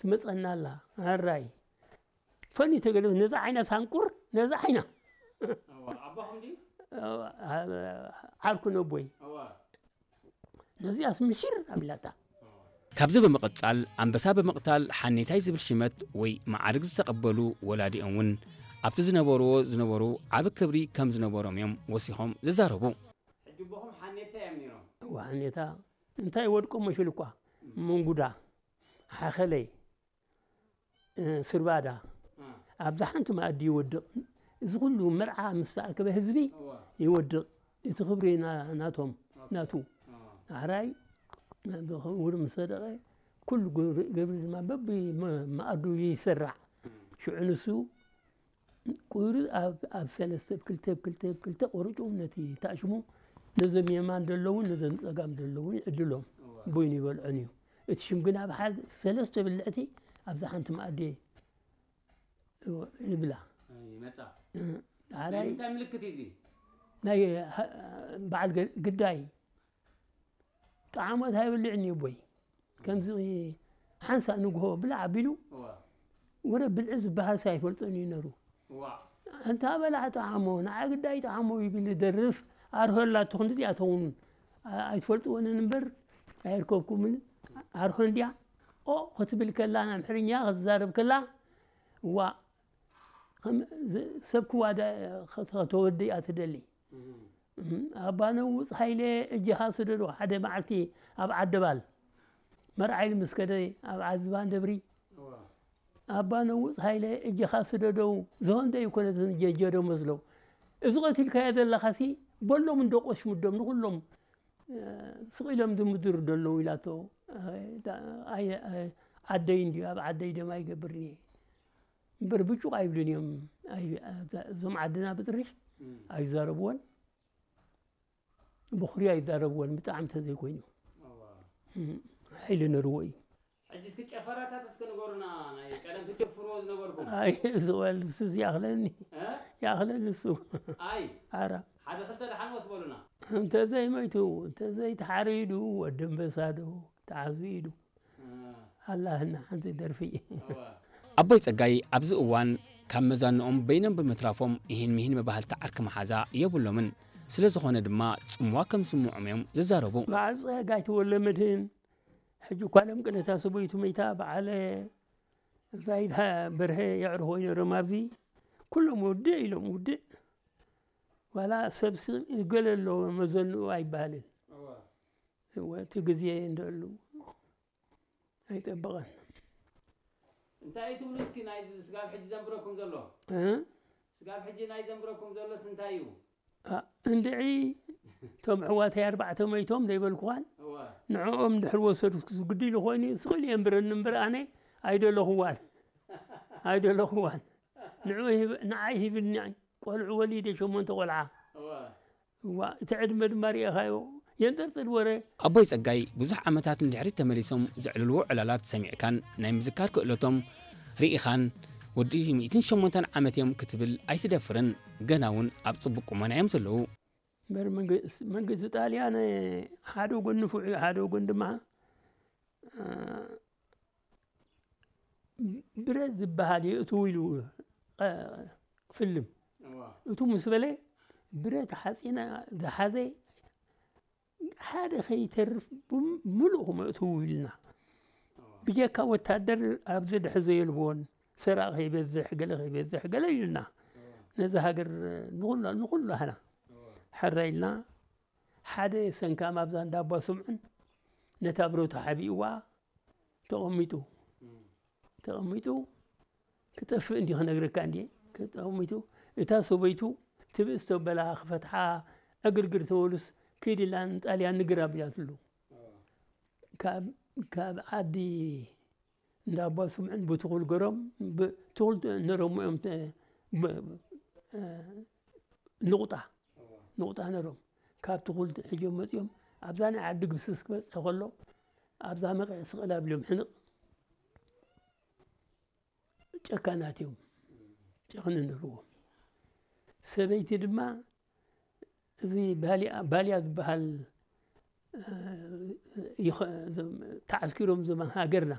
ትመጸና ኣላ። ኣራይ ፈኒ ተገለ ነዛ ዓይና ሳንቁር ነዛ ዓይና ኣቦኹም ድዩ? ዓርኩ ነቦይ እዋ ነዚኣስ ምሽር ኣቢላታ። ካብዚ ብምቕጻል ኣንበሳ ብምቕታል ሓኔታይ ዝብል ሽመት ወይ መዓርግ ዝተቐበሉ ወላዲኦም እውን ኣብቲ ዝነበርዎ ዝነበሩ ዓቢ ክብሪ ከም ዝነበሮም እዮም ወሲኾም ዝዛረቡ። ሕጂ ኣቦኹም ሓኔታ እዮም ነይሮም። ዋዕኔታ እንታይ ወድቆ መሽል እኳ መንጉዳ ሓኸለይ ስርባዳ ኣብዛ ሓንቲ መኣዲ ይወድቕ። እዚ ኩሉ መርዓ ምስ ተኣከበ ህዝቢ ይወድቕ። እቲ ክብሪ ናቶም ናቱ ኣሕራይ ክቡር ምስ ሰደቐ ኩሉ ግብሪ ድማ በቢ መኣዱ ይስራዕ። ሽዑ ንሱ ቁሪ ኣብ ሰለስተ ብ ክልተ ብ ክልተ ብ ክልተ ቆርጩ ነቲ ታሽሙ ነዞም የማን ዘለውን ነዞም ጸጋም ዘለውን ይዕድሎም። ቡይኑ ይበልዖን እዩ። እቲ ሽም ግን ኣብ ሓደ ሰለስተ ብልዕቲ ኣብዛ ሓንቲ መኣዲ ይብላ። ይመጻ ሓራይ እንታይ ምልክት እዩ እዚ? ናይ በዓል ግዳይ ጣዕሞት ኣይበልዕን እዩ ቦይ ከምዚ ሓንሳ ንግሆ ብላዕ ኣቢሉ እዋ ወረ ብልዒ ዝበሃል ኣይፈልጦን እዩ ነሩ። እዋ እንታ በላዕ ጠዓሞ ንዓ ግዳይ ጠዓሞ ይብል ደርፍ ኣርሆ ኣላቶ ክንዲዚኣቶም እውን ኣይትፈልጥወንን እምበር ኣይርከብኩምን። ኣርሆ እንዲያ ኦ ክትብል ከላ ኣምሕርኛ ክትዛረብ ከላ እዋ ሰብ ክዋዳ ከተወዲ እያ ትደሊ። ኣባ ነውፅ ሃይለ እጅኻ ስደዶ ሓደ መዓልቲ ኣብ ዓደባል መርዓ ኢሉ ምስ ከደ ኣብ ዓዝባን ደብሪ ኣባ ነውፅ ሃይለ እጅኻ ስደደው ዝሆን ደይኮነ ጀጀዶ መስለው እዚ ቀቲልካዮ ዘለኻሲ በሎም እንዶ ቆሽምዶም ንኩሎም ስቕ ኢሎም ዝምድሩ ደለዉ ኢላቶ። ዓደይ እንዲ ኣብ ዓደይ ደማ ይገብርኒ እምበር ብጩቕ ኣይብልን እዮም። እዞም ዓድና ብጥሪሕ ኣይዛረብዎን ብኹሪ ኣይዛረብዎን ብጣዕሚ ተዘይኮይኑ ሓይሊ ነርዎ እዩ። ሕጂ እስኪ ጨፈራታት እስኪ ንገሩና ናይ ቀደም ትጨፍርዎ ዝነበርኩም ኣይ ዝበል ስስ ያኽለኒ እ? ያኽለኒ እሱ ኣይ ኣራ ሓደ ክልተ ደሓን ወስ በሉና እንተዘይመይቱ እንተዘይተሓሪዱ ወዲ ኣንበሳዶ ተዓዝቢ ኢዱ ኣላህና ሓንቲ ደርፊ እዋ ኣቦይ ጸጋይ ኣብዚ እዋን ካብ መዛንኦም በይኖም ብምትራፎም ይህን ምሂን መባህልቲ ዓርኪ መሓዛ የብሎምን። ስለ ዝኾነ ድማ ጽምዋ ከም ዝስምዖም እዮም ዝዛረቡ። በዓል ጸጋይ ተወለ መድህን ሕጂ እኳ ሎም ቅነታ ሰበይቱ መይታ በዓለ ዛይድ በርሀ የዕርፎ ይነሮም ኣብዚ ኩሎም ውድእ ኢሎም ውድእ ዋላ ሰብሲ ገለ ኣሎ መዘንኡ ኣይበሃልን እዋ እወ እቲ ግዜ እንድዕሉ ኣይጠበቐን እንታይ እዩ ትብሉ እስኪ ናይዚ ስጋብ ሕጂ ዘንብረኩም ዘሎ እ? ስጋብ ሕጂ ናይ ዘንብረኩም ዘሎስ እንታይ እዩ ኣ፣ እንድዒ እቶም ኣሕዋተይ ኣርባዕተ መይቶም ዘይበልኩዋን እዋ ንዕኦም ድሕር ወሰዱ ግዲ ኢሉ ኮይኑ ስቕ ኢሉ የንብረኒ እምበር ኣነ ኣይደለኹዋን ኣይደለኹዋን ንዑ ይህብ- ንዓይ ሂብኒ ቆልዑ ወሊደ ሸሞንተ ቆልዓ እዋ እዋ እቲ ዕድመ ድማ ርኢኻዮ የንጠርጥር ወረ ኣቦይ ጸጋይ ብዙሕ ዓመታት ንድሕሪት ተመሊሶም ዘዕልልዎ ዕላላት ሰሚዕካን ናይ ምዝካር ክእለቶም ርኢኻን ወዲ ሚእትን ሸሞንተን ዓመት እዮም ክትብል ኣይትደፍርን። ገና እውን ኣብ ጽቡቕ ቁመና እዮም ዘለዉ። እምበር መንግስ- መንግስቲ ጣልያን ሓደ ወገን ንፉዕ እዩ ሓደ ወገን ድማ እ፣ ብረት ዝበሃል የእትው ኢሉ እ፣ ክፍልም እዋ እቱ ምስ በለ ብረት ሓፂና ዝሓዘ ሓደ ከይተርፍ ብም- ምሉእ ክመእትው ኢልና ብጀካ ወታደር ኣብዚ ድሕዞ የልቦን ሰራቕ ከይበዝሕ ገለ ከይበዝሕ ገለ ኢልና ነዚ ሃገር ንኩሉ ንኩሉ ሃና ሕረ ኢልና ሓደ ሰንካም ኣብዛ እንዳ ኣባ ስምዑን ነታ ብረቱ ሓቢእዋ ተቐሚጡ ተቐሚጡ ክጠፍእ እንዲ ክነግረካ እንዲ ተቐሚጡ እታ ሰበይቱ ትብእስ ተበላ ክፈትሓ ዕግርግር ተበሉስ ክይድ ኢላ ንጣልያን ንግር ኣቢላትሉ ካብ ዓዲ እንዳ ኣባ ስምዑን ብትኹል ገሮም ትኹል ነሮም እዮም ንቑጣ ንቑጣ ነሮም ካብ ትኹል ሕጆም መፂኦም ኣብዛ ናይ ዓዲ ግብስስ ክበፅሕ ከሎ ኣብዛ መቕዕ ስቕል ኣቢሎም ሕንቕ ጨካናት እዮም ጨኽኒ ነርዎም ሰበይቲ ድማ እዚ ባልያ ዝበሃል ተዓስኪሮም ዘመን ሃገርና